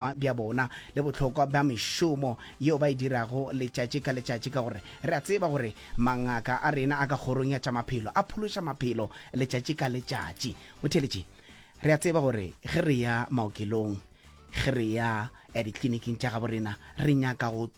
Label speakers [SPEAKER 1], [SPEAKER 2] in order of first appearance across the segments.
[SPEAKER 1] Bja bona le bohlokwa bja mešomo yeo ba e dirago letšatši ka letšatši, ka gore re a tseba gore mangaka a rena a ka kgorong ya tša maphelo a phološa maphelo letšatši ka letšatši. Motheeletši, re a tseba gore ge re ya maokelong, ge re ya eh, dikliniking tša gabo rena, re nyaka go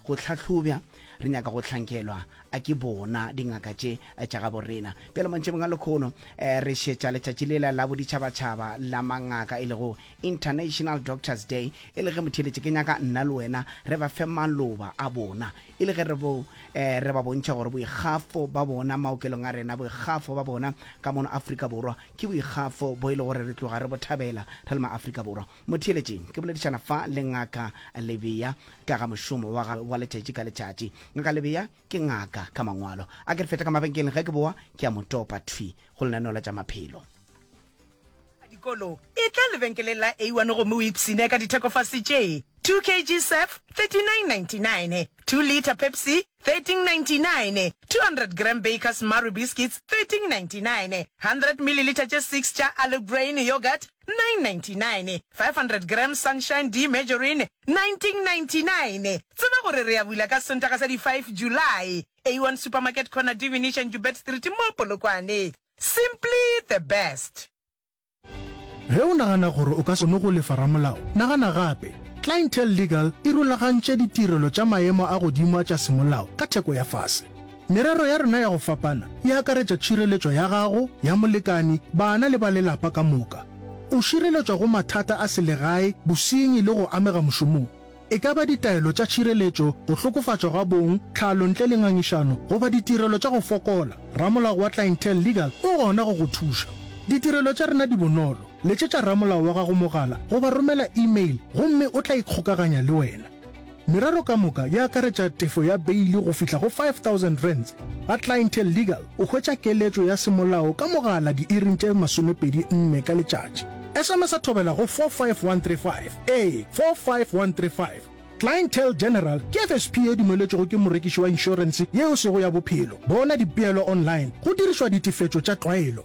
[SPEAKER 1] go hlahlobja, re nyaka go hlankelwa a ke bona dingaka tše tša gabo rena. Bjale mantšibong a lekhono eh, re šetša letšatši lela la boditšhabatšhaba la mangaka e lego International Doctors Day, e le ge motheeletši ke nyaka nna le wena re ba fe maloba a bona, e le ge re bo eh, re ba bontšha gore boikgafo ba bona maokelong a rena, boikgafo ba bona ka mono Afrika Borwa ke boikgafo bo e le gore re tloga re bo thabela re le ma-Afrika Borwa. Motheeletši, ke boledišana fa le Ngaka Lebea ka ga mošomo wa gagwe wa letšatši ka letšatši. Ngaka Lebea ke ngaka ka mangwalo. A ke re fete ka mabenkeleng, ge ke boa ke a mo topa thwi go lenaneo la tša maphelo.
[SPEAKER 2] Dikolo, etla lebenkeleng la A1 gomme o ipshine ka dithekofase tše, 2 kg Surf, 39.99, 2 litre Pepsi, 13.99, 200 gram Bakers Marie Biscuits, 13.99, 100 millilitre tše 6 tša Allegrain Yoghurt, 9.99, 500 gram Sunshine D Margarine, 19.99. Tseba gore re a bula ka Sontaga sa di 5 July. A1 Supermarket Corner D Venetian Joubert Street mo Polokwane. Simply the best.
[SPEAKER 3] Ge o nagana gore o ka se kgone go lefa ramolao, nagana gape. Clientele Legal e rulagantše ditirelo tša maemo a godimo a tša semolao ka theko ya fase. Merero ya rena ya go fapana e akaretša tšhireletšo ya gago, ya molekani, bana le ba lelapa ka moka. O šireletšwa go mathata a selegae, bosenyi le go amega mošomong. E ka ba ditaelo tša tšhireletšo, go hlokofatšwa ga bong, tlhalo ntle le ngangišano, goba ditirelo tša go fokola, ramolao wa Clientele Legal o gona go go thuša. Ditirelo tša rena di bonolo, letšetša ramolao wa gago mogala goba romela e-mail gomme o tla ikgokaganya le wena. Merero ka moka e akaretša tefo ya beili go fihla go R5000. Ga Clientele Legal o hwetša keletšo ya semolao ka mogala diiring tše 24 ka letšatši. SMS-a thobela go 45135. Ee, 45135. Clientele General ke FSP ye dumeletšwego ke morekiši wa inšorense ye e sego ya bophelo. Bona dipeelo online go dirišwa ditefetšo tša tlwaelo.